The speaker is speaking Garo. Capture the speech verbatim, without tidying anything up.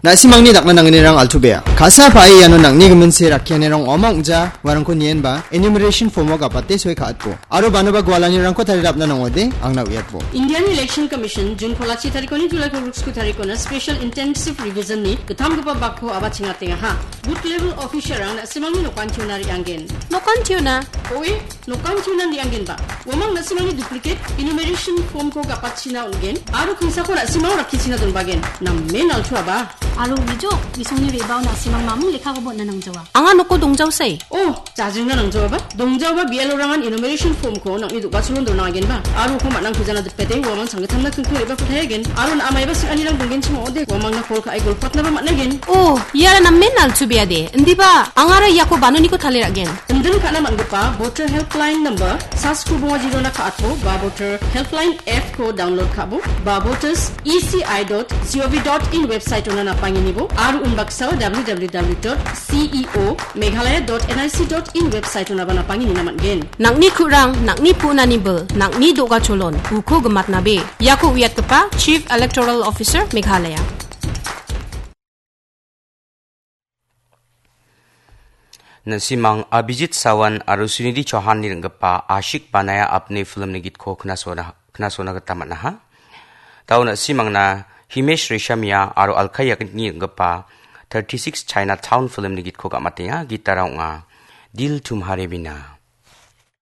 Na·simangni dakna nangnirang altu bea. Ka·sa pa·e iano nangni giminse rakkianirang ong·a ong·ja uarangko nienba enumeration form-o gapate sue ka·atbo. Aro banoba gualanirangko tarirapna nangode angna uiatbo. Indian Election Commission June kolachi tarikoni July kolgriksku tarikona Special Intensive Revision-ni gittamgipa bakko aba chingatengaha. Booth level officer-rang na·simangni nokantiona re·anggen. Nokantiona? Oe, nokantiona re·anggenba. Uamang na·simangni duplicate enumeration form-ko gapatchina on·gen, aro kingsako na·simang rakkichina donbagen. Namen altuaba. Aro uijo, isongni re·bao na·simang mamung lekkakoba on·na nangjawa. Anga noko dongjaosai. Oh, jajingna nangjaoba. Dongjaoba B L O-rangan enumeration form-ko nang·ni do·gacholon dona agenba. Aro uko man·ang pujana dipete, uamang sanggittamna kingko re·bako tayagen. Aro na·amaiba sing·anirang donggenchim ong·ode, uamangna call ka·e golpatnaba man·agen. Oh, iara namen altu beade. Indiba, angara iako banoniko taliragen. Indin ka·na man·gipa Voter Helpline number, sasku bonga jirona ka·atbo, ba Voter Helpline app-ko download ka·bo, ba voters E C I dot G O V dot in website-ona napanginibo, aro unbaksao W W W dot C E O Meghalaya dot N I C dot in website-onaba napanginina man·gen. Nang·ni ku·rang, nang·ni pu·nani bil, nang·ni do·gacholon, uko gimatnabe. Iako uiatgipa Chief Electoral Officer, Meghalaya. Na·simang Abhijit Sawan aro Sunidhi Chauhanni ring·gipa Ashik Banaya Apne filmni gitko knasona, knasona gita man·aha. Tao na·simangna Himesh Reshamia aro Alka Yagnikni ring·gipa thirty-six Chinatown filmni gitko gamatenga, gitara ong·a Dil Tumhare Bina.